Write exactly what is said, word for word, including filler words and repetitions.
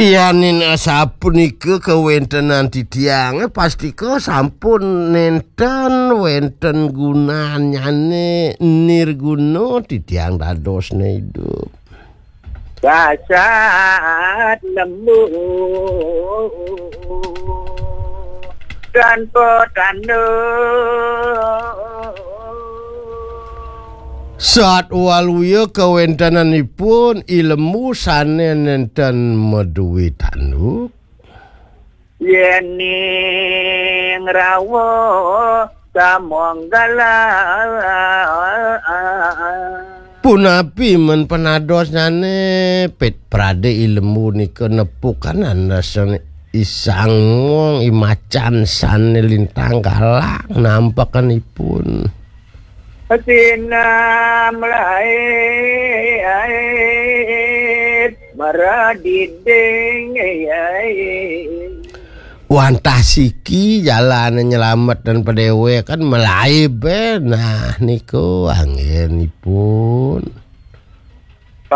Yanin asapunika kawéntenan titiangé, pastika sampun nénten wénten gunanyane nirguna titiang dadosné idup. Dasat lembu dan petanduk. Sat waluya kawéntenanipun i lembu sané nénten madué tanduk. Yéning rawuh samonggalan. Punapi men panadosnyané, Pit Pradé, i lembu nika nepukan andasane i sangwong i macan sané lintang galak nampekenipun. Sinam lain maradiding. Wantah siki jalane nyelamet dan padéwékan malaib, eh. Nah, niku anggenipun.